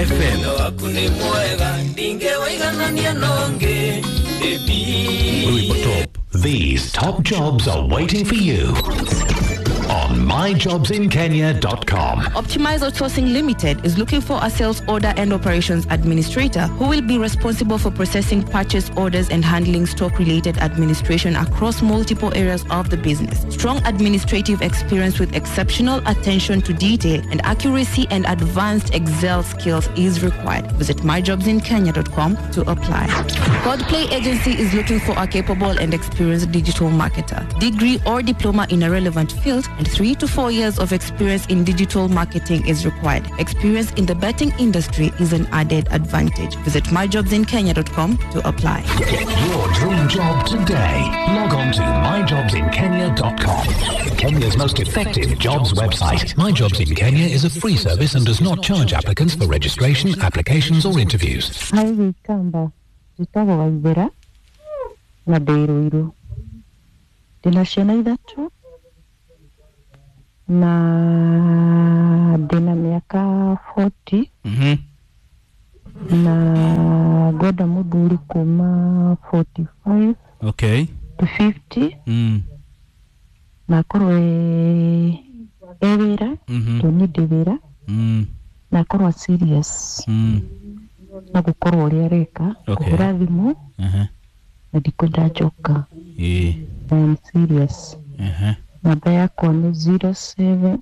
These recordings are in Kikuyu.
FM. Waku nĩ mwega ndingĩwĩiganania nongĩ. Top. These top jobs are waiting for you on myjobsinkenya.com. Optimize Outsourcing Limited is looking for a sales order and operations administrator who will be responsible for processing purchase orders and handling stock-related administration across multiple areas of the business. Strong administrative experience with exceptional attention to detail and accuracy and advanced Excel skills is required. Visit myjobsinkenya.com to apply. Godplay Agency is looking for a capable and experienced digital marketer, degree or diploma in a relevant field, and 3 to 4 years of experience in digital marketing is required. Experience in the betting industry is an added advantage. Visit myjobsinkenya.com to apply. Get your dream job today. Log on to myjobsinkenya.com. Kenya's most effective jobs website. My Jobs in Kenya is a free service and does not charge applicants for registration, applications, or interviews. Hi Gikamba, njĩtagwo Waithera na ndĩ Ruiru. Ndĩna ciana ithatũ na ndĩna mĩaka 40 na ngwenda mũthuri kuma 45 Okay. to 50 na akorwo e wĩra tondũ niĩ ndĩ wĩra na akorwo serious na gũkorwo ũrĩa areka kũhũra thimũ na ndikwenda njoka. Ĩĩ. I am serious. Namba yakwa nĩ 07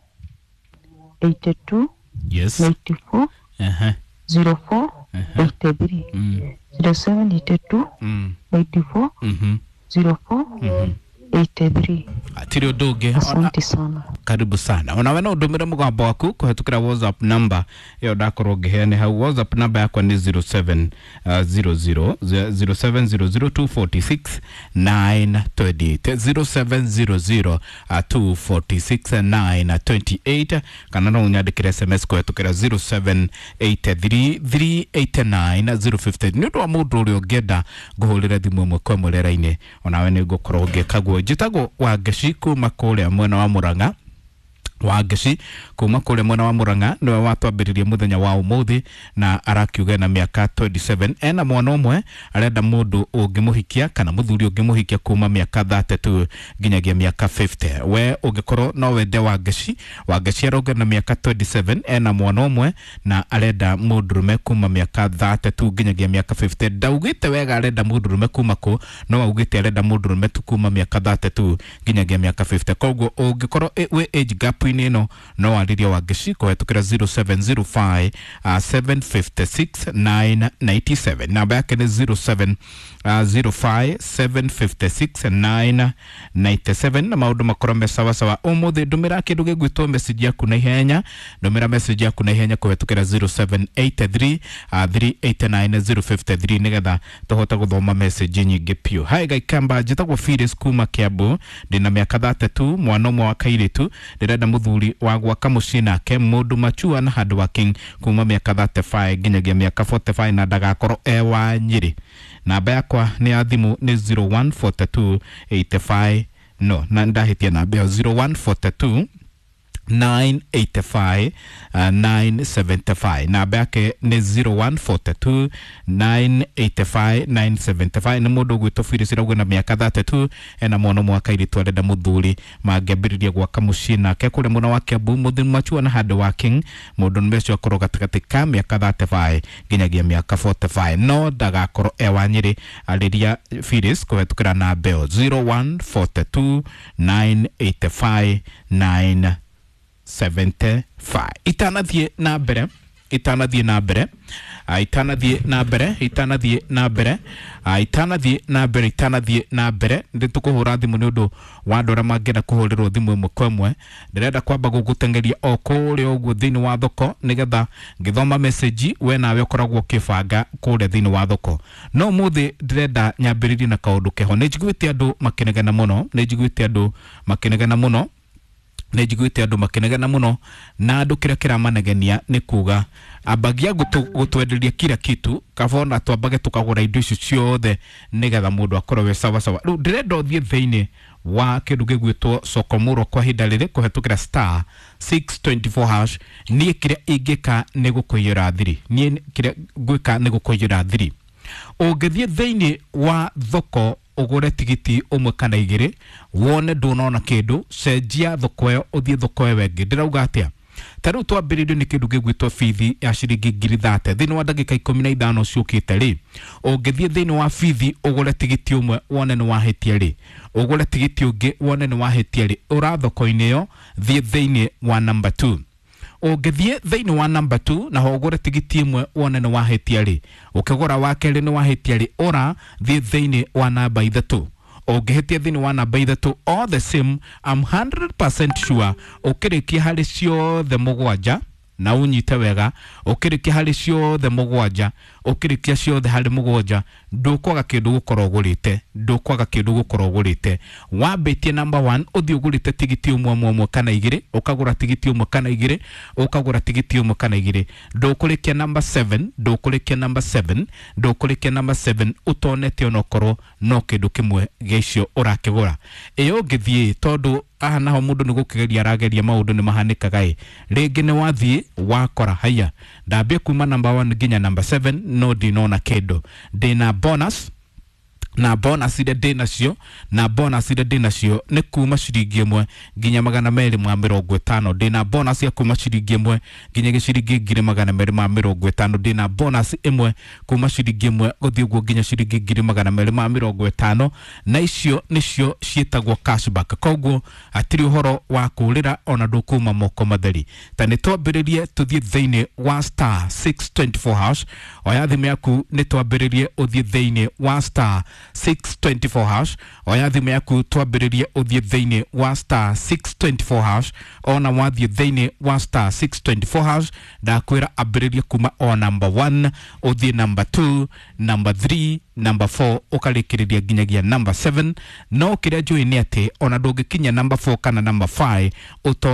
82 94 04 83 07 82 94 04 83. Hatirĩ ũndũ ũngĩ. Asante sana. Karibu sana. Onawe no ũndũmĩre mũgambo waku kũhetũkĩra WhatsApp number ĩyo ndakorwo ngĩheane hau. WhatsApp number yakwa nĩ 07 00 0700 246 928, 0700 246 928, kana no ũnyandĩkĩre SMS kũhetũkĩra 0783 389 050. Nĩ ũndũ wa mũndũ ũrĩa ũngĩenda ngũhũrĩre thimũ ĩmwe kwa ĩmwe rĩera-inĩ, onawe nĩ ngũkorwo ngĩka guo. Njĩtagwo Wangeci kuma kũrĩa mwena wa Mũrang'a. Wangeci kuma kũrĩa mwena wa Mũrang'a nĩwe watwambĩrĩria mũthenya wa ũmũthĩ na arakiuga na mĩaka 27, ena mwana ũmwe, arenda mũndũ ũngĩmũhikia kana mũthuri ũngĩmũhikia kuma mĩaka 32 nginyagia mĩaka 50. We ũngĩkorwo no wende Wangeci, Wangeci arauga na mĩaka 27, ena mwana ũmwe na arenda mũndũrũme kuma mĩaka 32 nginyagia mĩaka 50. Ndaugĩte wega arenda mũndũrũme kuma kũ, no augĩte arenda mũndũrũme tu kuma mĩaka 32 nginyagia mĩaka 50. Koguo ũngĩkorwo wĩ age gap-inĩ ĩno no warĩrie Wangeci kũhetũkĩra 0705 756 997. Namba yake nĩ 07 05 756 997 na maũndũ makorwo me sawasawa. Ũmũthĩ ndũmĩra kĩndũ gĩgwĩtwo message yaku na ihenya, ndũmĩra message yaku na ihenya kũhetũkĩra 0783 389 053 nĩgetha tũhote gũthoma message nyingĩ piũ. Hi Gaikamba, njĩtagwo Phyllis kuma Kiambu, ndĩna mĩaka 32, mwana ũmwe wa kairĩtu, ndĩrenda mũthuri wa gwaka mũciĩ nake, mũndũ machua na hard working, kuma mĩaka 35 nginyagia mĩaka 45 na ndagakorwo e wa Nyĩrĩ. Namba yakwa nĩ ya thimũ nĩ 0142 85, no na ndahĩtia namba ĩyo, 0142 985 975. Namba yake nĩ 0142 985 975. Nĩ mũndũ ũgwĩtwo Phyllis Irauga na mĩaka 32, ena mwana ũmwe wa kairĩtu, arenda mũthuri mangĩambĩrĩria gwaka mũciĩ nake kũrĩa mwena wa Kiambu, mũthuri machua na hard working, mũndũ nĩme ũcio akorwo gatagatĩ ka mĩaka 35 nginyagia mĩaka 45, no ndagakorwo e wa Nyĩrĩ. Arĩria Phyllis kũhetũkĩra namba ĩyo 0142 985 9 75. Itanathiĩ na mbere, itanathiĩ na mbere, itanathiĩ na mbere, itanathiĩ na mbere, itanathiĩ na mbere, itanathiĩ na mbere, nĩ tũkũhũra thimũ nĩ ũndũ wa andũ arĩa mangĩenda kũhũrĩrwo thimũ ĩmwe kwa ĩmwe. Ndĩrenda kwamba gũgũteng'eria o kũrĩa ũguo thĩinĩ wa thoko nĩgetha ngĩthoma message we nawe ũkoragwo ũkĩbanga kũrĩa thĩinĩ wa thoko. No ũmũthĩ ndĩrenda nyambĩrĩrie na kaũndũ keho. Nĩ njiguĩte andũ makĩnegena mũno, nĩ njiguĩte andũ makĩnegena mũno, nĩ njiguĩte andũ makĩnegena mũno, na andũ kĩrĩa kĩramanegenia nĩ kuga ambagia gũtwenderia kila kitu, kaba ona twambage tũkagũra indo icio ciothe nĩgetha mũndũ akorwo we sawasawa. Rĩu ndĩrenda ũthiĩ thĩinĩ wa kĩndũ gĩgwĩtwo sokomuro kwa ihinda rĩrĩ kũhetũkĩra star 624 hash. Niĩ kĩrĩa ingĩka nĩ gũkũiyũra thiri, niĩ kĩrĩa ngwĩka nĩ gũkũiyũra thiri. Ũngĩthiĩ thĩinĩ wa thoko ũgũre tigiti ũmwe kana igĩrĩ, wone ndũnona kĩndũ, cenjia thoko ĩyo ũthiĩ thoko ĩyo ĩngĩ. Ndĩrauga atĩa? Ta rĩu twambĩrĩirio nĩ kĩndũ gĩgwĩtwo bithi ya ciringi 30,000 thĩinĩ wa ndagĩka 15 ciũkĩte rĩ, ũngĩthiĩ thĩinĩ wa bithi ũgũre tigiti ũmwe wone nĩ wahĩtia rĩ, ũgũre tigiti ũngĩ wone nĩ wahĩtia rĩ, ũra thoko-inĩ ĩyo thiĩ thĩinĩ wa number 2. Ũngĩthiĩ thĩinĩ wa number 2 naho ũgũre tigiti ĩmwe wone nĩ wahĩtia rĩ, ũkĩgũra wa kerĩ nĩ wahĩtia rĩ, ũra thiĩ thĩinĩ wa namba 3. Ũngĩhĩtia thĩinĩ wa namba 3, all the same, I'm 100% sure ũkĩrĩkia harĩ ciothe mũgwanja, na ũnyite wega, ũkĩrĩkia harĩ ciothe mũgwanja, ũkĩrĩkia ciothe harĩ mũgwanja, ndũkwaga kĩndũ gũkorwo ũgũrĩte, ndũkwaga kĩndũ gũkorwo ũgũrĩte. Wambĩtie number 1, ũthiĩ ũgũrĩte tigiti ũmwe ũmwe ũmwe kana igĩrĩ, ũkagũra tigiti ũmwe kana igĩrĩ, ũkagũra tigiti ũmwe kana igĩrĩ, ndũkũrĩkia number 7, ndũkũrĩkia number 7, ndũkũrĩkia number 7 ũtonete onokorwo no kĩndũ kĩmwe gĩa icio ũrakĩgũra. Ĩyo ũngĩthiĩ, tondũ aha naho mũndũ nĩ gũkĩgeria arageria, maũndũ nĩ mahanĩkaga ĩ, rĩngĩ nĩ wathiĩ wakora haya ndambie kuma number 1 nginya number 7 no ndinona kĩndũ, ndĩna bonus na bonus iria ndĩ nacio, na bonus iria ndĩ nacio nĩ kuma ciringi 1 nginya 250. Ndĩna bonus ya kuma ciringi 1 nginya gĩciringi 250. Ndĩna bonus 1 kuma ciringi 1 gũthiĩ ũguo nginya ciringi 250, na icio nĩcio ciĩtagwo cashback. Koguo hatirĩ ũhoro wa kũrĩra ona ndũkuma moko matheri. Ta nĩ twambĩrĩrie tũthiĩ thĩinĩ wa star 624 hash. Oya thimũ yaku nĩ twambĩrĩrie ũthiĩ thĩinĩ wa star 624 hash. Oya thimũ yaku twambĩrĩrie ũthiĩ thĩinĩ wa star 624 hash. Ona wathiĩ thĩinĩ wa star 624 hash, ndakwĩra ambĩrĩrie kuma o number 1 ũthiĩ number 2, number 3, number 4 ũkarĩkĩrĩria nginyagia number 7. No kĩrĩa njũĩ nĩ atĩ ona ndũngĩkinya number 4 kana number 5 ũtone